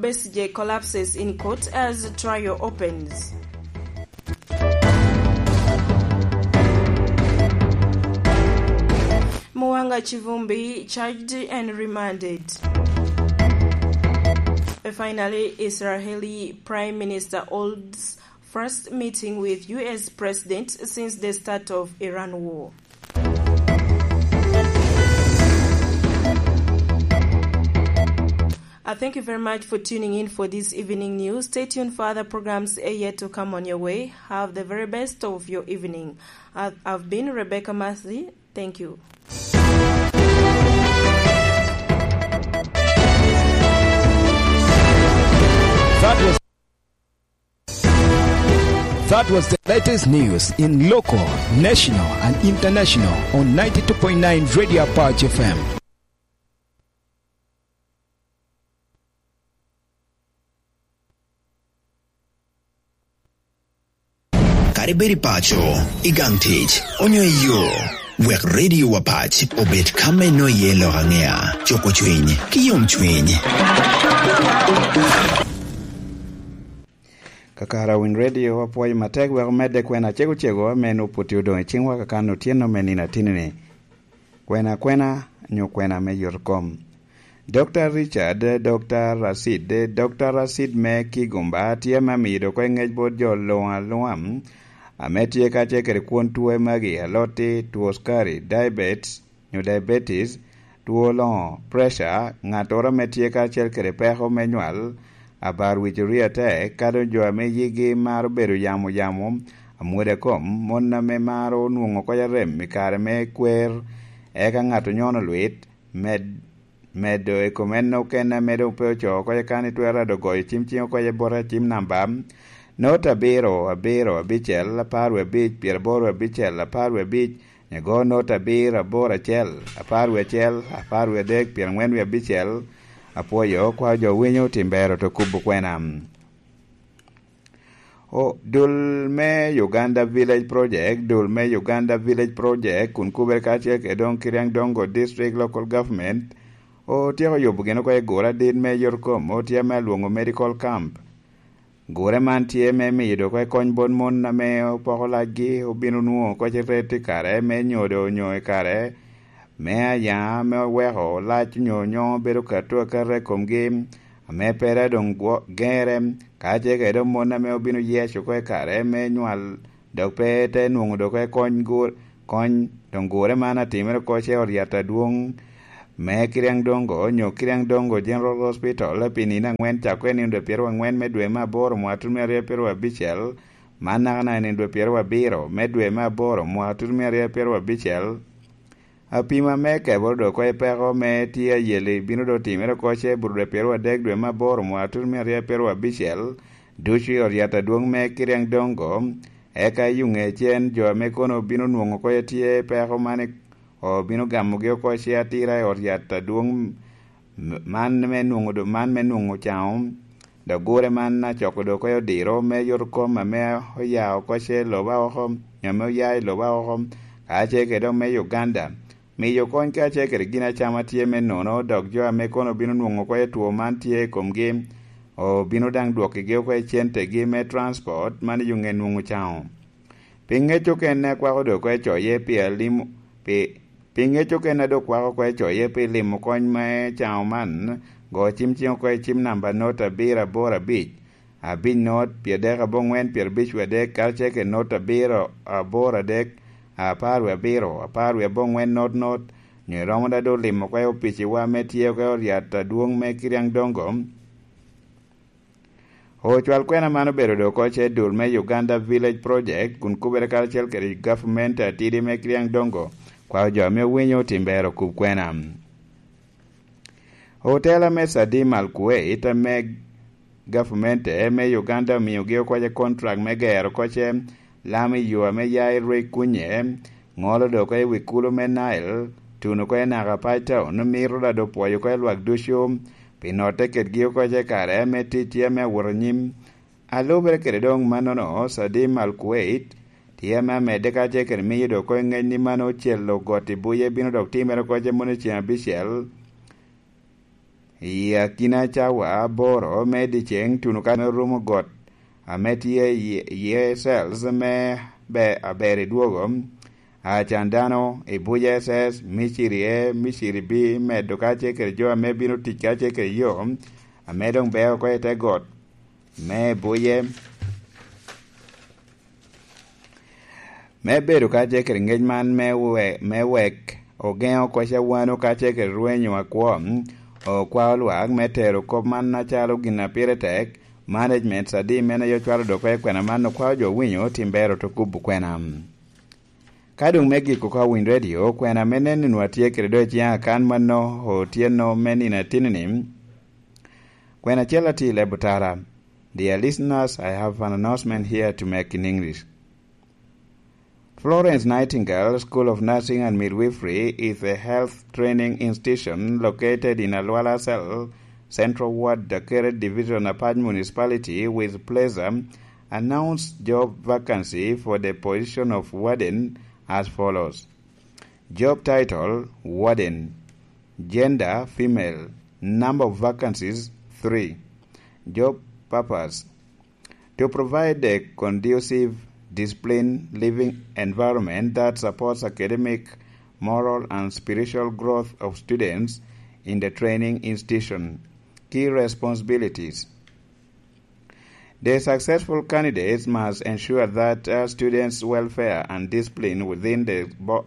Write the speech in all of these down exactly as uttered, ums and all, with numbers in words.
Besigye collapses in court as trial opens. Muwanga Kivumbi charged and remanded. Finally, Israeli Prime Minister holds first meeting with U S President since the start of Iran war. Uh, thank you very much for tuning in for this evening news. Stay tuned for other programs, eh, yet to come on your way. Have the very best of your evening. I've, I've been Rebecca Mercy. Thank you. That was, that was the latest news in local, national, and international on ninety-two point nine Radio Apache F M. Kadi bed i paco, i gang tic, onyo i yo, wek Radio Apache obed ka me nwoŋo iye lok aŋea, cuko cwiny, ki yom cwiny. Kakare Winy Radio, apwoyo matek wek omedde kwena cego cego ame nwoŋo pwod tye odoŋ i ciŋwa kakan otyeno me nino atinni. Kwena kwena, nyo kwena me yot kom. Dokta Richard, Dokta Racid, Dokta Racid me Kigumba tye ame amiyo dok ŋec bot jo luŋ aluŋa, ame tye kacel kede kwon twe magi, alotti, two skari, diabetes, nyo diabetes, two loŋo, pressure, ŋattoro ame tye kacel kede peko me nywal, abar wic orye atek, ka doŋ jo ame yigi maro bedo yamo yamo, amwodo kom, mon ame maro nwoŋo koc arem i kare me kwer, eka ŋat onyono lwit, med-, medo i kom en okene ame doŋ pe ocoo koc eka ni twero ado goyo cim ciŋ oko i bote cim namba, not abiro, abiro, abicel, apar wie abic, pyeraboro abicel, apar wie abic, nyo go not abiro, aboro acel, apar wie acel, apar wie adek, pyerangwen wie abicel. Apwoyo kwa jo winyo tim bero to kubo kwena. O, dul me Uganda Village Project, dul me Uganda Village Project, kun kubere kacel kede doŋ Kiriang Dongo District Local Government, otyeko yubo gin oko i gure adit me yot kom, otye ame alwoŋo medical camp. Gure man tye me miyo dok kony bot mon ame opoko lacgi, obino nwoŋo koc i ret i kare me nyodo onyo i kare me aya, me oweko lac onyo nyoŋo bedo kato akata i komgi, ame pe doŋ gwo-, gere, ka ce kede mon ame obino yec oko i kare me nywal, dok pe te nwoŋo dok kony gur-, kony, doŋ gure man atimere oko ce ot yat adwoŋ me Kiriang Dongo, nyo Kiriang Dongo General Hospital, pi nino aŋwen, cako i nino dwe pyeraryo aŋwen me dwe me aboro mwaka tutumia aryo pyeraryo abicel, man naka naka i nino dwe pyeraryo abiro me dwe me aboro mwaka tutumia aryo pyeraryo abicel. Apima me keboro dok oko i peko me tye ayeli bino dok timere oko ce bur dwe pyeraryo adek dwe me aboro mwaka tutumia aryo pyeraryo abicel, ducu i ot yat adwoŋ me Kiriang Dongo, eka i yuŋe cen jo ame kono bino nwoŋo oko tye peko man i-, obino gamogi oko ce atira i ot yat adwoŋ m-, man me nwoŋo do-, man me nwoŋo caŋo, dok gure man acoko dok oko odiro me yot kom ame oya oko ce loba oko, nyo ame oya i loba oko, ka ce kede dok me Uganda. Miyo kony kacel kede gin acama tye me nono, dok jo ame kono bino nwoŋo oko two man tye i komgi, obino daŋ dwokkigi oko i centegi me transport man i yuŋe nwoŋo caŋo. Pi ŋec okene akwako dok oko i coye pi alimo, pi, pi ŋec okene a dok kwako oko i coye pi limo kony me caŋo man, go cim ciŋ oko i cim namba not abiro aboro abic, abic not, pyeradek aboŋwen, pyerabic wie adek, karacel kede not abiro aboro adek, apar wie abiro, apar wie aboŋwen not not, nyo iromo da doŋ limo oko i opiciwa ame tye oko i ot yat adwoŋ me Kiriang Dongo. Ocwal kwena man obedo dok oko ce dul me Uganda Village Project, kun kubere karacel kede gavumenti atidi me Kiriang Dongo, kwao jo ame owinyo otim bero okub kwena. Otela me Sadim Al Kuwait ame gavmente me Uganda omiogi oko ce contract me gero oko ce lam i yo ame ya i Rwek kunye, ŋolo dok oko i wi kulu me Nile, tuno oko i naka Page Town, mito da doŋ pwoyo oko i lwak ducu, pi notte kedgi oko ce kare me ticci ame awot anyim. A lubere kede doŋ mannono, Sadim Al Kuwait tye ame amedde kacel kede miyo dok oko i ŋec ni mano ocelo got i buye bino dok timere oko ce mono i ceŋ abicel. I akina cawa aboro me dyeceŋ tuno ka me rumo got ame tye i iye cells me aber i dwogo, acan dano i buc S S, miciri e, miciri bi medo kacel kede jo ame bino tic kacel kede yo ame doŋ beo oko i te got me buc e. Me bedo kacel kede ngec man me we-, me wek ogeŋo koc a wano kacel kede rwenyo akwo, okwao lwak me tero kop man acalo gin a pire tek, management adi men aye ocwalo dok oko i kwena man okwao jo winyo tim bero te kubo kwena. Ka doŋ me giko ka owiny redio, kwena me neno nwa tye kede doŋ iciŋ akan mano otyeno me nino atini-ni, kwena acel atir leb otara. Dear listeners, I have an announcement here to make in English. Florence Nightingale School of Nursing and Midwifery is a health training institution located in Alwala Cell, Central Ward, Dakere Division, Apac Municipality, with pleasure announced job vacancy for the position of warden as follows. Job title, warden. Gender, female. Number of vacancies, three. Job purpose, to provide a conducive, disciplined living environment that supports academic, moral, and spiritual growth of students in the training institution. Key responsibilities. The successful candidates must ensure that, uh, students' welfare and discipline within the bo-,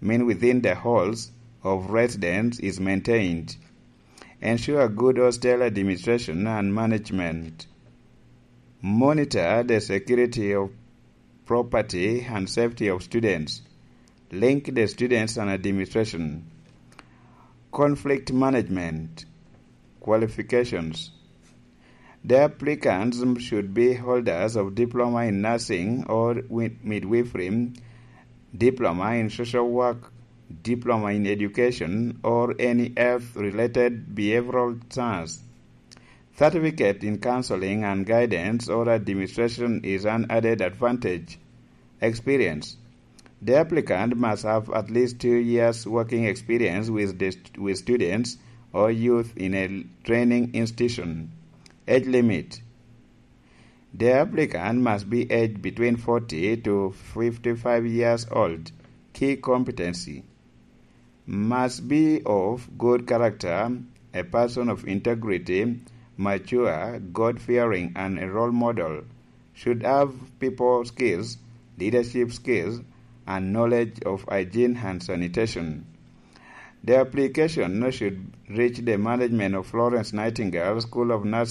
mean within the halls of residence is maintained. Ensure good hostel administration and management. Monitor the security of property and safety of students. Link the students and administration. Conflict management. Qualifications. The applicants should be holders of diploma in nursing or wi-, midwifery, diploma in social work, diploma in education, or any health-related behavioral science. Certificate in counseling and guidance or administration is an added advantage. Experience. The applicant must have at least two years working experience with the st-, with students or youth in a training institution. Age limit. The applicant must be aged between forty to fifty-five years old. Key competency. Must be of good character, a person of integrity, mature, God-fearing, and a role model. Should have people skills, leadership skills, and knowledge of hygiene and sanitation. The application should reach the management of Florence Nightingale School of Nursing